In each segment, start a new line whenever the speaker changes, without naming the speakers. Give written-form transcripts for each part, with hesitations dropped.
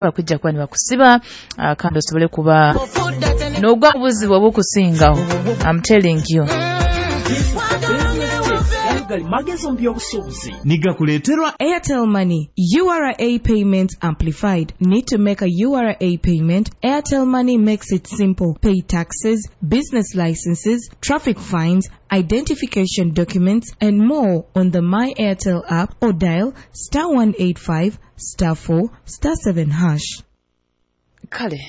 Bakujja kuba nibakusiba, kandi osobole kuba n'ogwa buzibu obukusingaho. I'm telling you.
Magezi mu by'obusuubuzi.
Nigakuleeterwa
Airtel Money, URA Payments Amplified. Need to make a URA payment? Airtel Money makes it simple. Pay taxes, business licenses, traffic fines, identification documents, and more on the My Airtel app or dial *185 *4 *7#.
Kale,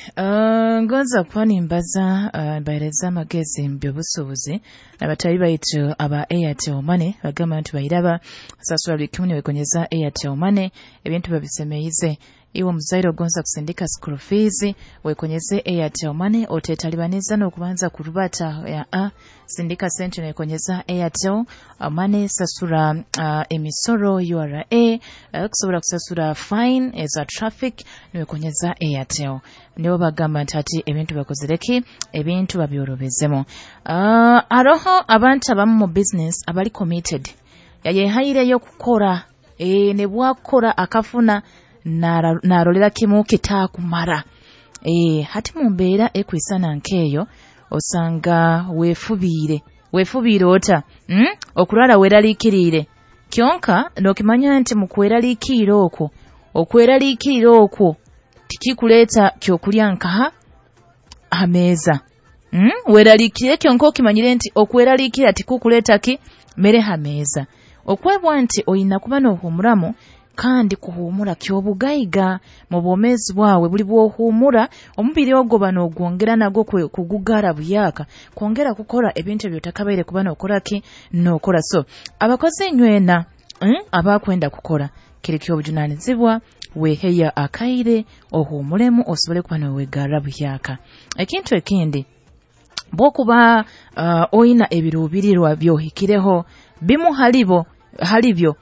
ngonza kuba nimbaza, mbahereza amagezi mu by'obusuubuzi abatali baitu aba Airtel Money. Bagamba nti bairaba sasula buli kimu niwekonyeza Airtel Money, ebintu babisemeize. Iwe omuzaire ogonza kusindika school fees, wekonyeze Airtel Money, oteetalibaniza n'okubanza kurubata ya a sindika sente niwekonyeza Airtel Money. Sasura emisoro URA, kusobola kusasura fine eza traffic niwekonyeza Airtel. Nibo bagamba nti ati ebintu bakozereki, ebintu babyorobezemu. Aroho abantu abamu mu business abali committed, yayehaireyo kukora, ne bwakora akafuna narolera kimu kitaakumara. Hati mu mbeera ekwisana nkeeyo osanga weefubiire. Weefubiire ota? Okurara weeraliikiriire, kyonka n'okimanya nti mu kweraliikirira okwo, okweraliikirira okwo tikikuleeta kyokulya nkaha ha meeza. Weeraliikirire kyonka okimanyire nti okweraliikirira tikukuleeta ki mere ha meeza. Okwebwa nti oyina kuba n'ohuumuramu, kandi kuhuumura ky'obugaiga mu bwomeezi bwawe. Buli bw'ohuumura omubiri ogwo ba n'ogwongera nagwo kugugara buyaaka, kwongera kukora ebintu ebyotakabaire kuba n'okora ki n'okora. So abakozi inywena, abakwenda kukora kiri ky'obujunaanizibwa, weeheya akaire ohuumuremu osobole kuba noowegarra buyaaka. Ekintu ekindi, bw'okuba oyina ebiruubirirwa byohikireho bimu halibo halibyo,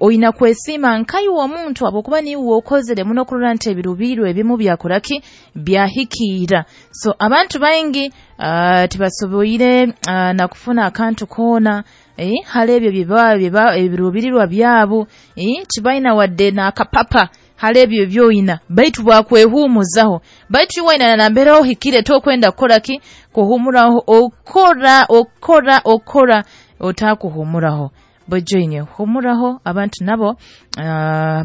oyina kwesiima nkaiwe omuntu habwokuba niiwe okozere muno kurora nti ebiruubirirwa ebimu byakora ki byahikiira. So abantu baingi tibasoboire na kufuna akantu koona, hali ebyo byeba ebiruubirirwa byabo, tibaina wadde n'akapapa hali ebyo byoyina, baitu bwakwehuumuzaho. Baitu iwe waina nambere ohikire, tokwenda kukora ki kuhuumuraho. Okora okora okora otakuhuumuraho. Bojoine humuraho, abantu nabo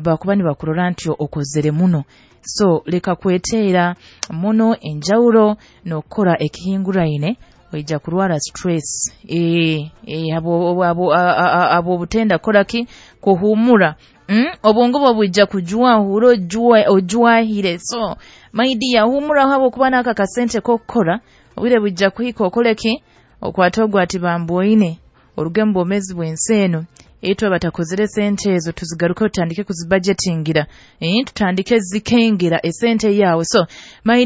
bakuba nibakurora nti okozere muno. So leka kweteera muno enjawulo n'okukora ekihinguraine, oija kurwara stress, abo obutenda kukora ki kuhuumura. Obwongo bwe bwija kujwahura, ojwahire. So my dear, huumuraho, habwokuba n'aka kasente k'okukora obwire bwijja kuhika okole ki okwate ogwo ati bambwoine oruge mu bwomeezi bw'ensi eno. Itwe batakozere sente ezo tuzigaruke tutandike kuzibajetingira, tutandike zikengera esente yawe. So my